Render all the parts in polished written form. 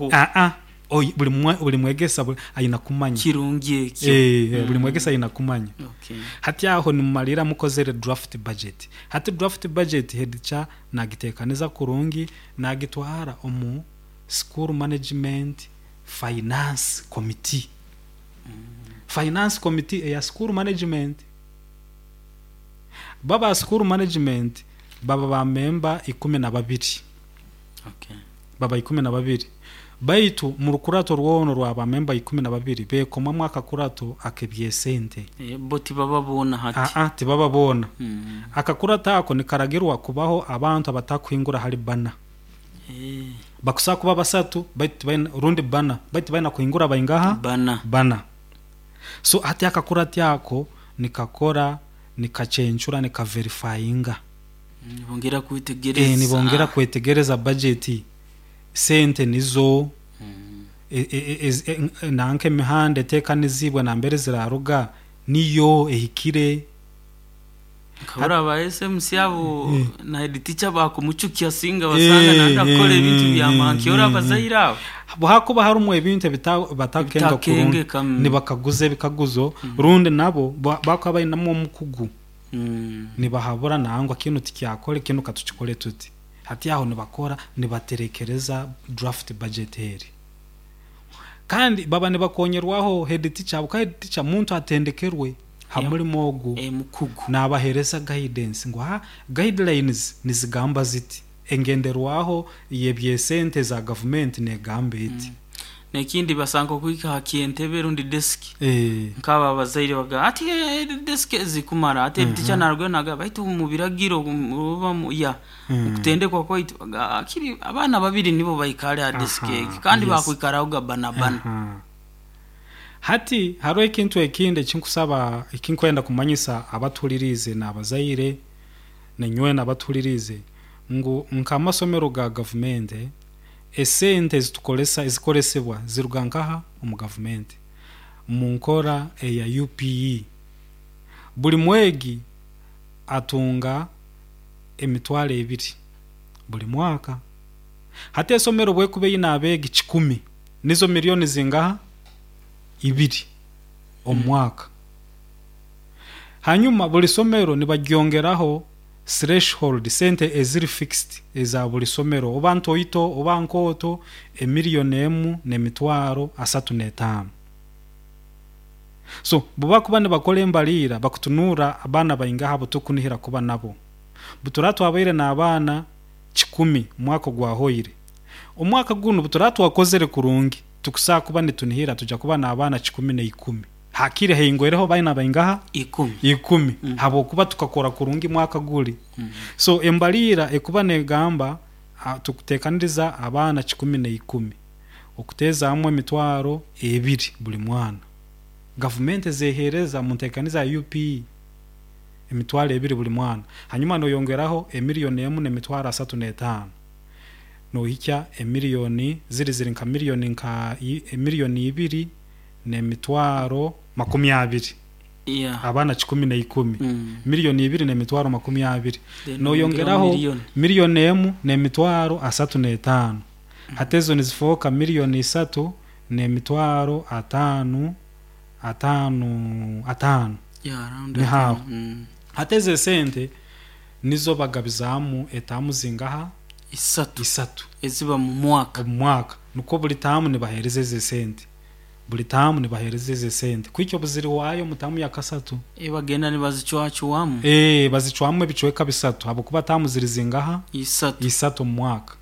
Aa, oi- buli mwe- buli mwegesa buli- aina kumanya. Kirungi ekyo. Eh, buli mwegesa aina kumanya. Okay. Hati aho nimumalirra mukozere draft budget. Hati draft budget head teacher naagiteekaniza kurungi naagitwara omu school management finance committee. Finance committee eya school management. Bo aba school management baba ba member 12. Okay. Baba 12. Baitu mu rukurato rwona orwa ba member 12 beekomamu akakurato ak'ebyesente. Eh, bo tibaba boona hati. Aa, tibaba boona. Akakurato ako nikaragirwa kubaho abantu abatakuhingura hali bbana. Eh, Bakusobola kuba basatu baitu tibaina rundi bbana baitu tibaina kuhingura baingaha? Bbana. Bbana. So hati akakurati ako nikakora, nikacencura, nikaverifyinga. Nibongera kwetegereza. Eh, nibongera kwetegereza budget, sente nizo, nanka emihanda eteekanizibwe nambere ziraaruga niyo ehikire. Nkahurra aba SMC abo na head teacher bakumucukya singa basanga nanda kukora ebintu bya mankyora abazaire abo. Hakuba harumu ebintu ebitakenga kurungi, Ebitakengeka, nibakaguza ebikaguzo rundi nabo bakuba bainamu omukugu nibahabura nangwa kinu tikyakore kinu katukikore tuti. Hati aho nibakora nibaterekereza draft budget eri. Kandi baba nibakonyerwaho head teacher habwokuba head teacher muntu atendekerwe ha mulimo ogu. Eh, mukugu. Naabaheereza guidance ngu ha guidelines nizigamba ziti, engenderwaho y'ebyesente za gavumenti neegamba eti. N'ekindi basanga okuhika ha ky'entebe rundi desk Eh. nk'abo abazaire bagamba ati desk ezikumara ati head teacher narugayo nagamba baitu omu biragiro oba mu ya mukutendekwa kwaitu bagamba akiri abaana babiri nibo baikale ha desk egi kandi bakwikarahoga bana bana. Aha. Hati haroho ekintu ekindi ekinkusaba ekinkwenda kumanyisa abatuhuliriize n'abazaire nanywena abatuhuliriize ngu nk'amasomero ga gavumenti esente ezitukoresa ezikoresebwa ziruga nkaha omu gavumenti mu nkora eya UPE. Buli mwegi atunga 20,000 buli mwaka. Hati esomero bwekuba eine abeegi 100 nizo miliyoni zingaha? Ibiri omu mwaka. Hanyuma buli somero nibagyongeraho threshold sente eziri fixed eza buli somero oba ntoito oba nkooto 1,035,000. So bubakuba nibakora embaliira bakutunurra abaana baingaha abu tukunihira kuba nabo. Butura twabaire n'abaana 100 omwaka ogwahoire. Omwaka gunu butura twakozere kurungi tukusobola kuba nitunihira tuja kuba n'abaana 110. Hakiri haingwireho baina baingaha? Ikumi. Ikumi. Habwokuba tukakora kurungi mwaka guri. So embaliira ekuba negamba tukuteekaniriza abaana 110 okuteezaamu 20,000 buli mwana. Gavumenti ezeeheereza mu nteekaniza ya UPE 20,000 buli mwana. Hanyuma noyongeraho 1,035,000 nohikya emiliyoni ziri ziri nka miliyoni nka 2,020,000. Yeah. Abaana 110. 2,020,000. Then Noyongeraho miliyoni. 1,035,000. Hati ezo nizifooka 3,500,000 atano atano. Yeah, around Ni haho. atano. Hati ezo esente nizo bagabizaamu etaamu zingaha? Isatu. Isatu. Eziba mu mwaka. Omu mwaka. Nukwo buli taamu nibaheereza ezo esente. Buli taamu nibaheereza ezo esente. Kuhikya obu zirihwayo omu taamu ya kasatu. Eh, bagenda nibazicwacwamu. Eh, bazicwamu ebicweka bisatu habwokuba taamu ziri zingaha? Isatu. Isatu omu mwaka.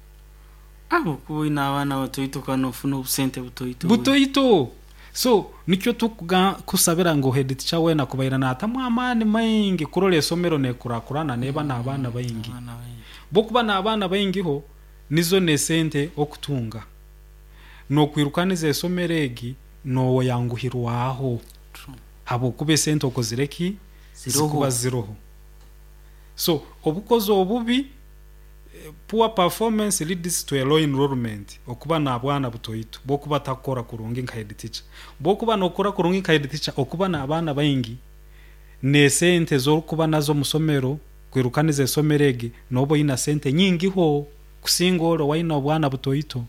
Habwokuba oine abaana batoito kandi nofuna obusente butoito. Butoito. So nikyo tukusabira ngu head teacher weena kubaire naatamu amaani maingi kurora esomero neekurakurana neeba n'abaana baingi. Abaana baingi. Bwokuba n'abaana baingiho nizo n'esente okutunga. Nookwirukaniza esomero egi nooyanguhirwaho. True. Habwokuba esente okozire ki? Ziroho. Zikuba ziroho. So obukozi obubi poor performance leads to a low enrollment okuba n'abwana butoito bwokuba takukora kurungi nka head teacher. Bwokuba nokora kurungi nka head teacher okuba n'abaana baingi n'esente ez'orukuba nazo omu somero kwirukaniza esomero egi nooba oina sente nyingiho kusinga ori owaine obwana butoito.